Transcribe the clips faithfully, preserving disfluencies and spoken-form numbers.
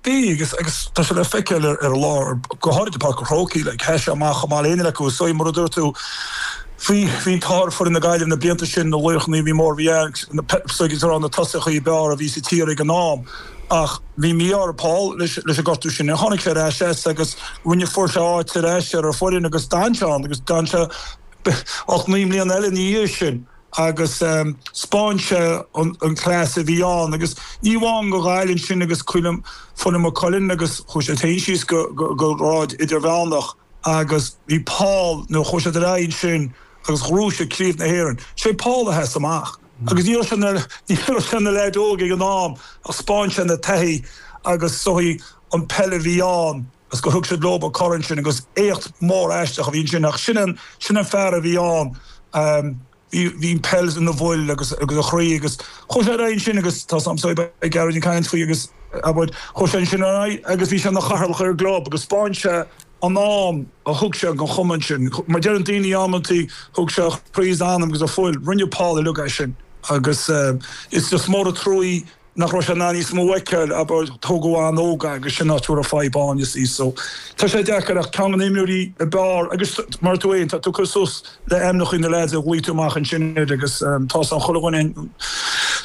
Bhí agus agus tá sé le feiceáil ar ar lár go háirithe Páirc an Chrócaigh le heis amach amach léine le go so mar a dúirt tú bhí bhí tar fu na Gaillimh na blianta sin na laochraí bhí mór bhí na na tosaithe ab fhearr a bhí sa tír ag an am ach bhí mí ar Paul leis leis an gortú sin tháinig sé ar ais agus rinne fuair sé áit ar ais ar foireann agus d'fhan sé agus d'fhan sé ach naoi mbliana eile ina dhiaidh sin agus um, 'spáin sé an, an class a bhí ann agus ní amháin go Gaillimh sin agus cuilim fuin Maigh Cuilinn agus chuaigh sé féin síos go, go, go grád idirmheánach agus bhí Paul nó chuaigh sé ar sin agus ghnóthaigh sé Craobh na hÉireann. Sé Paul a sheas amach. Agus ní sin ní sin na leaids óga ag an am a 'spáin sé na taithí agus soí an peil a bhí ann agus go thug siad leo an corn sin agus éacht mór aisteach a bhí sin ach sin an sin an fear a bhí ann. Um, bhí peil ina bhfuil agus agus a chroí agus chuaigh sé ar sin agus tá sam ag Gearóid an caint faoi agus abair chuaigh sé sin agus bhí sé ina chathaoirleach ar an gclub agus 'spáin sé an am a thug sé don chumann sin. Mar deir an daoine amantaí thug sé croí anam agus a fuil rinne Paul uilig é sin agus uh, is just mór an trua nach raibh sé níos mó feiceáil abair tógadh an-óg agus sin áit a fadhb ann is í so. Tá sé deacair ach ceann na n-imreoirí ab fhearr agus mar tú é tá tú cur suas le ainmneacha na leaids a luaigh tú amach ansin agus um, tá an chuile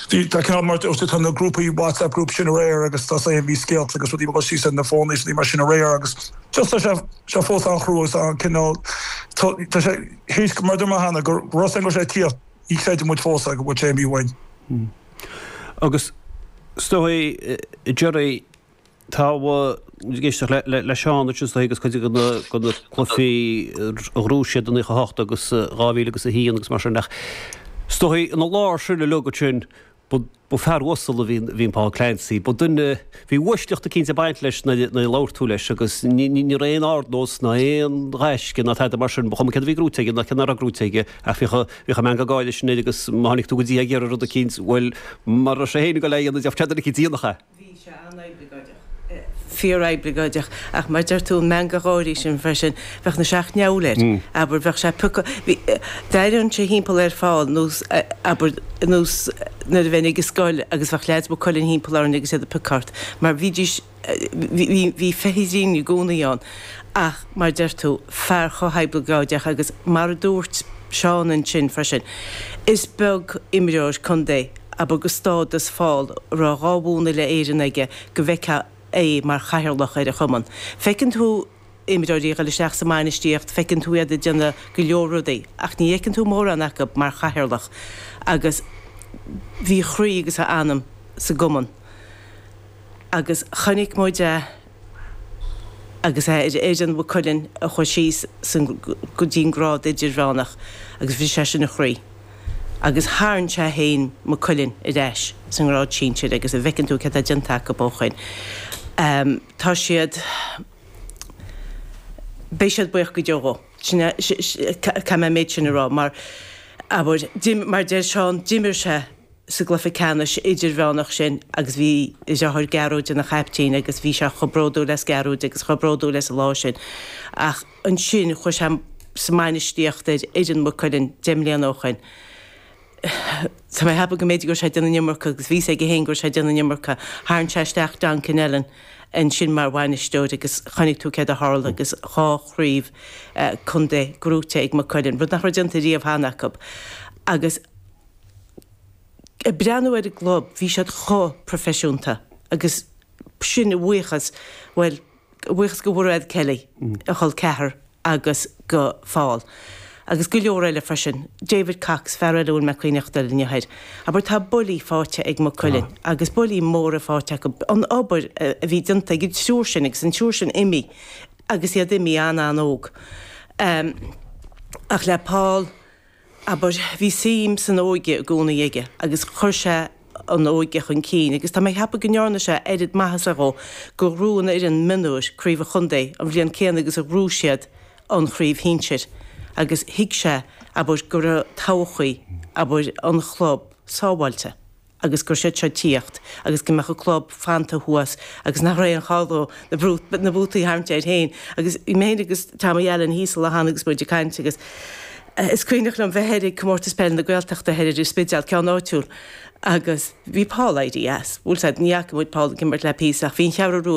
Bhí tá ceann mar tá na grúpaí WhatsApp group sin aréir agus tá sé bhí scéalta agus rudaí go sí na fónaí mar sin aréir agus just tá sé sé fós an-chrua an cineál tá sé héis mar mar hena gur ros go sé tí í creidim muid fós go bhfuil sé mí bhain. Agus stoi Jerry tá géisteach le le Seán sin agus chuid go na cluichí a ghnóthaigh siad an naocha hocht agus dhá mhíle agus a haon agus mar sin ach stoi an lár sin le lugat sin ba fear uasal a bhí bhí Paul Clancy, Ba duine bhí uaisleacht cinnte ag baint leis na labhair tú leis agus ní raon ardnós ná aon ghaisce ná tada mar sin chum cé bhí grúte na cin grúte a fi bhí me gáile sin agus má tháinig tú go dtí ag rud eicínt bhfuil mar sé héana go le de díanacha. Bhí sé an-oibleagáideach. Fíor-oibleagáideach ach mar deir tú an meangadh gáirí sin freisin bheadh na seacht ndeabhal air abair bheadh sé puca D'éirinn sé thimpeall ar fáil nós abair nós nuair a bheinn ag scoil agus bheadh leaids Mhaigh Cuilinn thimpeall orainn agus iad ag piocadh ort mar bhídís bhí feithidín i gcónaí ann ach mar deir tú fear chomh hoibleagáideach agus mar a dúirt Seán ansin freisin. Is beag imreoir contae abair go stádas Phóil raibh dhá bhua uile-Éireann aige go bhfeicfeá é mar chathaoirleach ar a chumann. Feiceann tú imreoirí ag dul isteach sa mbainistíocht, feiceann tú iad ag déanamh go leor rudaí, ach ní fheiceann tú mórán acu mar chathaoirleach agus bhí a chroí agus a anam sa gcumann. Agus chonaic muid é agus é ar fhoireann Mhaigh Cuilinn a chuaigh síos go dtí an grád idirmheánach agus bhí sé sin a chroí. Agus tharraing sé féin Maigh Cuilinn ar ais san ngrád sinsir agus a bhfeiceann tú cad tá déanta acu ó shin. Um, tá siad beidh siad buíoch go deo dhó. Caithfidh mé an méid sin a rá mar abair mar deir Seán d'imir sé sa gcluiche ceannais idirmheánach sin agus bhí a dheartháir Gearóid ina chaiptín agus bhí sé chomh bródúil as Gearóid agus chomh bródúil as an lá sin. Ach ansin chuaigh sé sa mbainistíocht ar fhoireann Mhaigh Cuilinn deich mbliana ó shin. Tá mé ag ceapadh go mb'fhéidir go raibh sé ag déanamh an iomarca agus bhí a fhios aige féin go raibh sé ag déanamh an iomarca. Tharraing sé isteach Don Kinellan ansin mar bhainisteoir agus chonaic tú céard a tharla agus dhá chraobh contae gnóthaithe ag Maigh Cuilinn, rud nach raibh déanta riamh cheana acu. Agus ag breathnú ar an gclub, bhí siad chomh proifisiúnta agus sin a bhuíochas, bhuel, a bhuíochas go Mhairéad Kelly, a chol ceathar agus go Paul. Agus go leor eile freisin, David Cox, fear eile a bhfuil mé cuimhneach dul inniu air. Abair tá buillí faighte ag Maigh Cuilinn agus buillí móra faighte acu. An obair a bhí déanta ag an triúr sin agus an triúr sin imithe agus iad imithe an-an-óg. Um, ach le Paul, abair, bhí suim san óige i gcónaí aige agus chuir sé an óige chun cinn agus tá mé ag ceapadh go ndearna sé oiread maitheasa dhó gur ghnóthaigh an fhoireann mionúir craobh an chontae an bhliain céanna agus a ghnóthaigh siad an chraobh shinsir agus thuig sé abair go raibh todhchaí abair an chlub sábháilte agus go raibh siad seo ag tíocht agus go mbeadh an club fanta thuas agus nach raibh aon chall dó na na bútaí a tharraingt air féin agus bhí mé féin agus Tommy Allen thíos an lá cheana agus muid ag caint agus is cuimhneach liom bheith thoir ag Comórtas Peile na Gaeltachta thoir ar an Spidéal ceann áitiúil agus bhí Paul éirithe as. Bhuel said ní fhaca muid Paul ag imirt le píosa ach bhí an Cheathrú Rua